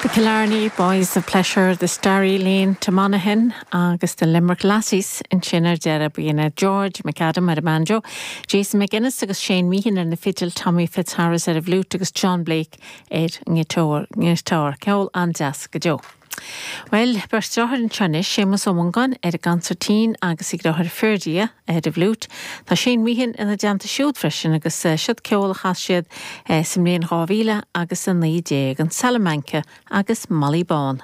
The Killarney Boys of Pleasure, The Starry Lane to Monaghan agus The Limerick Lassies ansin ar deireadh. B'in iad George McAdam ar an mbanjo, Jason McGuinness agus Shane Meehan ar na fidil, Tommy Fitzharris ar an bhfliúit agus John Blake ar an ngiotár. Ceol an-deas go deo. Bhuel, beirt deartháir anseo anois, Séamus Ó Mongáin ar an gconsairtín agus a dheartháir Ferdia ar an bhfliúit. Tá Shane Meehan ina dteannta siúd freisin agus siod ceol a chas siad sa mbliain 2000 agus 19, an Salamanca agus Molly Bán.